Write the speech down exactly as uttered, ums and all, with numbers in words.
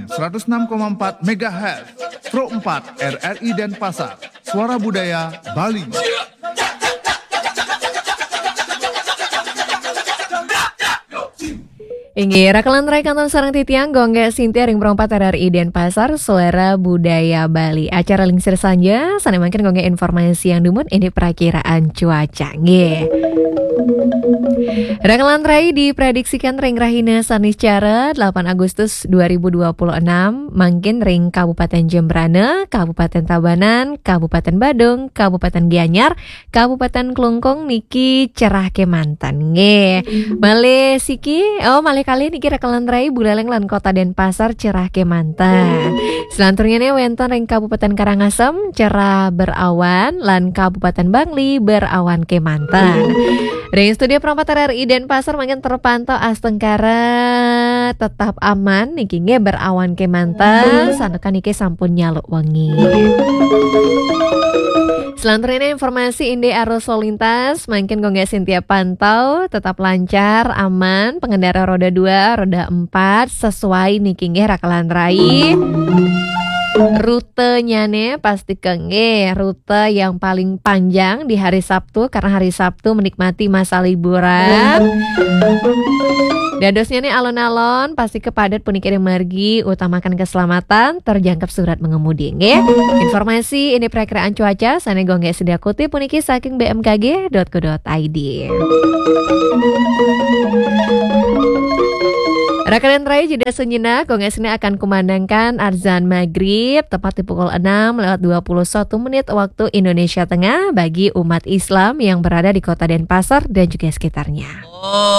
seratus enam koma empat megahertz, Pro empat R R I Denpasar, Suara Budaya Bali. Inggih, rakelan rai kantun sareng titiang Gung Gé Sintia ring Pro empat R R I Denpasar, Suara Budaya Bali. Acara Lingsir Sanja, sané mangkin Gung Gé informasiang dumun indik prakiraan cuaca. Nggih. Rakelan rai diprediksikan ring rahina Saniscara delapan Agustus dua ribu dua puluh enam, mangkin ring Kabupaten Jembrana, Kabupaten Tabanan, Kabupaten Badung, Kabupaten Gianyar, Kabupaten Klungkung niki cerah kémanten. Nggih. Malih siki, oh, malih kalih niki rakelan rai Buleleng lan Kota Denpasar cerah kémanten. Selanturnyané wénten ring Kabupaten Karangasem cerah berawan lan Kabupaten Bangli berawan kémanten. Ring studio Pro empat R R I Denpasar mangkin terpantau astungkara tetap aman niki nggih berawan kémanten, santukan niki sampun nyaluk wengi. Selanturnyané informasi indik arus lalu lintas, mangkin Gung Gé Sintia pantau tetap lancar, aman, pengendara roda dua, roda empat, sesuai niki nggih rakelan rai. Rutenyané pasti nggih rute yang paling panjang di hari Sabtu, karena hari Sabtu menikmati masa liburan. Dadosnyané alon-alon pasti kepadat puniki ring margi, utamakan keselamatan, terjangkep surat mengemudi nggih. Informasi indik prakiraan cuaca sané Gung Gé Sintia kutip puniki saking B M K G dot co dot I D. Rakelan rai, jeda sejenak, Gung Gé Sintia akan kumandangkan azan maghrib tepat di pukul enam lewat dua puluh satu menit waktu Indonesia Tengah bagi umat Islam yang berada di Kota Denpasar dan juga sekitarnya.